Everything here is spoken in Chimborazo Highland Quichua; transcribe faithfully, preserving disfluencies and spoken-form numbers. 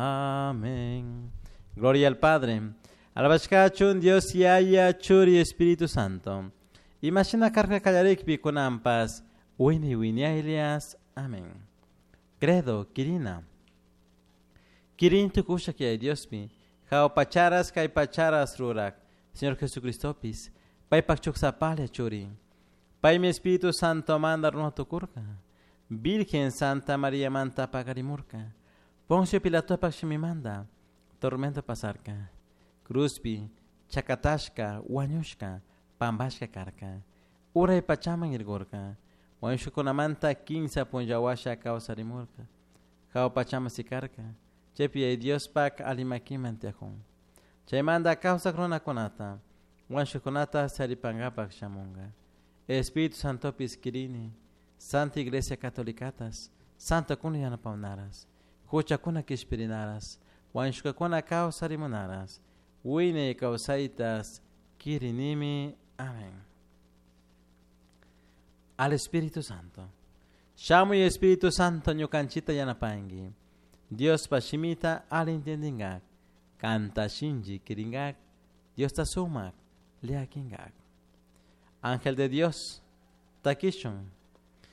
Amén. Gloria al Padre. Alabashkachun Dios Yaya Churi Espíritu Santo. Imashina karka kallarikpi kunanpas wini winiaylias. Amén. Credo, Kirina. Kirin tukusha kay Diospi. Jao pacharas kay pacharas rurak. Señor Jesucristopis. Paypak chuksapalia churi. Paymi Espíritu Santo manda runa tukurka. Virgen Santa María manta pagarimurka. Poncio Pilatopak shimimanda. Tormento pasarka. Cruzpi, chakatashka, wañushka, pambashka karka. Uray pachaman irgurka. Wañushkakunamanta kinsa punllawasha kawsarimurka. Hawa pachaman sikarka. Chaypi Diospak alimakiman tiyakun. Chaymanta kawsak runakunata, wañushkakunata saripankapak shamunka. Espíritu Santopis kirini, Santa Iglesia Catolicatas, Santa kuna yanapawnaras, huchakuna kishpirinaras, wañushkakuna kawsarimunaras, wiñay kawsaytas kirinimi. Amén. Al Espíritu Santo. Shamuy Espíritu Santo ñukanchita yanapanki. Diospa shimita ali entendingak. Kanta shinchi kiringak. Diosta sumak liakingak. Ángel de Dios, takishun.